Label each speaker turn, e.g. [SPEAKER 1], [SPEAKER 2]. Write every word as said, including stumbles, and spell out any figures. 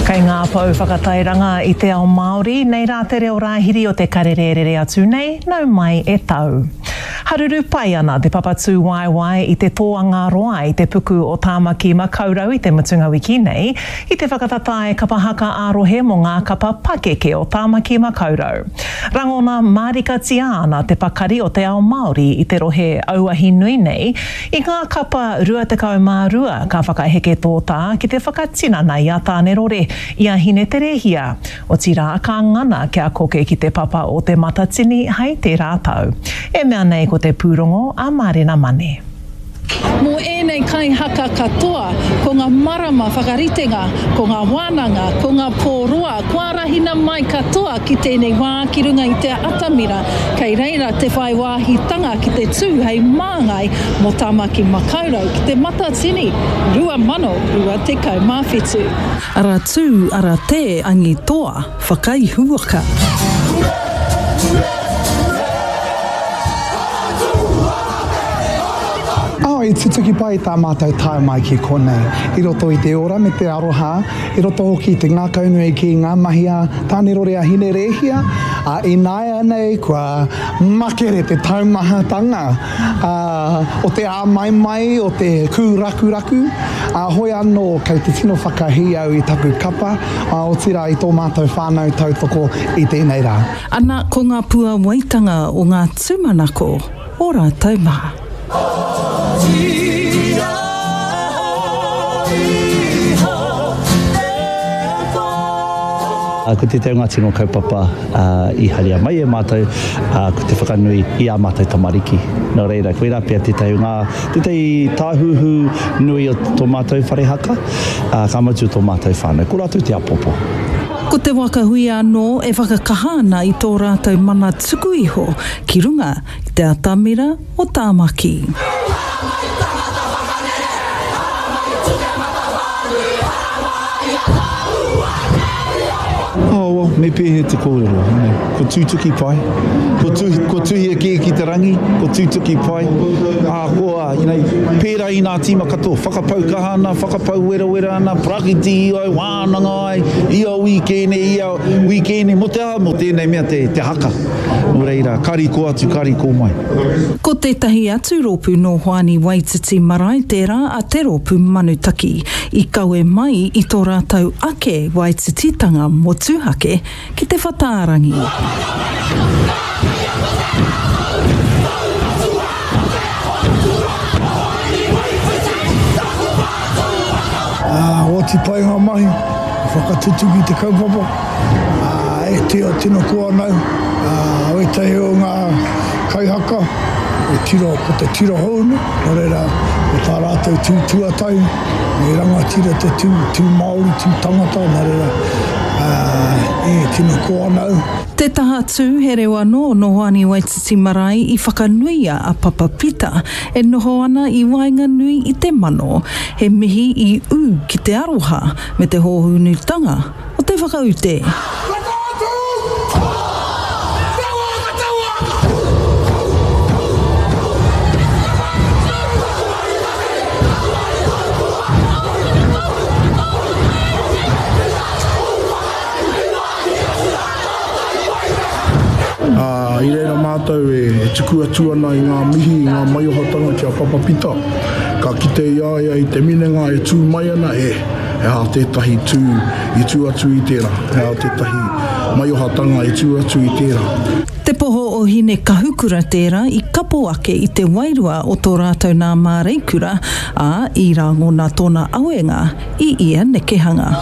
[SPEAKER 1] Kei ngā pou whakatairanga i te ao Māori, nei rā te reo rāhiri o te karere rere atu nei, nau mai e tau. Haruru pai ana te papatū waewae i te tōanga roa i te puku o Tāmaki Makaurau i te mutunga wiki nei, i te whakatatae kapa haka ā-rohe mō ngā kapa pakeke o Tāmaki Makaurau. Rangona mārikatia ana te pakari o te ao Māori i te rohe auahi nui nei, i ngā kapa rua tekau mā rua ka whakaheke tōtā ki te whakatinana i a Tānerore, i a Hineterehia. Otirā ka ngana kia koke ki te papa o Te Matatini hei tērā tau. E mea nei ko te pūrongo a Mārena Mane.
[SPEAKER 2] Mō ēnei kaihaka katoa, ko ngā marama whakaritenga, ko ngā wānanga, ko ngā pō roa, kua arahina mai katoa ki tēnei wā ki runga i te atamira, kei reira te whai wāhitanga ki te tū hei māngai mō Tāmaki Makaurau ki Te Matatini rua mano rua tekau mā whitu.
[SPEAKER 3] Ara tū, ara tē, angi toa, whakaihuwaka.
[SPEAKER 4] Oh, i tutuki pai tā mātou tae mai ki konei. I roto i te ora me te aroha, i roto hoki i te ngākaunui ki ngā mahi a Tānerore a Hinerēhia, a ināianei kua makere te taumahatanga, a, o te āmaimai, o te kūrakuraku. A, hoi anō, kei te tino whakahī au i taku kapa, a, otirā i tō mātou whānau tautoko i tēnei rā.
[SPEAKER 3] Ana ko ngā puawaitanga o ngā tūmanako o rātou mā.
[SPEAKER 5] Ko tētahi o ngā tino kaupapa i haria mai e mātou, ko te whakanui i ā mātou tamariki. Nō reira, koirā pea tētahi o ngā, tētahi tāhuhu nui o tō mātou whare haka, ka mutu tō mātou whānau. Ko rātou te apopo.
[SPEAKER 3] Ko te waka huia anō e whakakaha ana i tō rātou mana tuku iho ki runga i te atamira o Tāmaki.
[SPEAKER 6] Oh, well, me pēhea te kōrero, you know, ko tūtuki pai, ko, tu, ko tuhia kē ki te rangi, ko tūtuki pai, ā, ko, you know, pērā i ngā tīma katoa, whakapau kaha ana, whakapau werawera ana, parakiti ai, wānanga ai, ia wīkēne, ia wīkēne, mō te aha, mō tēnei mea te, te haka. Nō reira, kari ko atu, kari ko mai.
[SPEAKER 3] Ko tētahi atu rōpū nō Hoani Waititi marae tērā a te rōpū Manutaki, i kawe mai i tō rātou ake Waitititanga motuhake ki te whatārangi.
[SPEAKER 7] Ā, oti pai ngā mahi, whakatutuki te kaupapa, ā, e tio tino koa nau, ā, wētahi o ngā kaihaka, e tiro, ko te tiro hounu, nō reira, ko tā rātou tū tuatahi, me rangatira te tū, tū Māori, tū tangata, nō reira, ā, e tino koa nau.
[SPEAKER 3] Te taha tū, he reo anō nō Hoani Waititi marae i whakanuia a Papa Pita e noho ana i waenganui i te mano. He mihi i ū ki te aroha me te hōhunutanga o te whakaute.
[SPEAKER 7] Ā, i reira mātou e tuku atu ana i ngā mihi, i ngā maiohatanga ki a Papa Pita. Ka kite i a ia i te minenga e tū mai ana, e, he aha tētahi tū i tū atu i tērā, he aha tētahi maiohatanga i tū atu i tērā.
[SPEAKER 3] Te poho o Hine Kahukura tērā i kapo ake i te wairua o tō rātou nā Māreikura, ā, i rangona tōna awenga i ia nekehanga.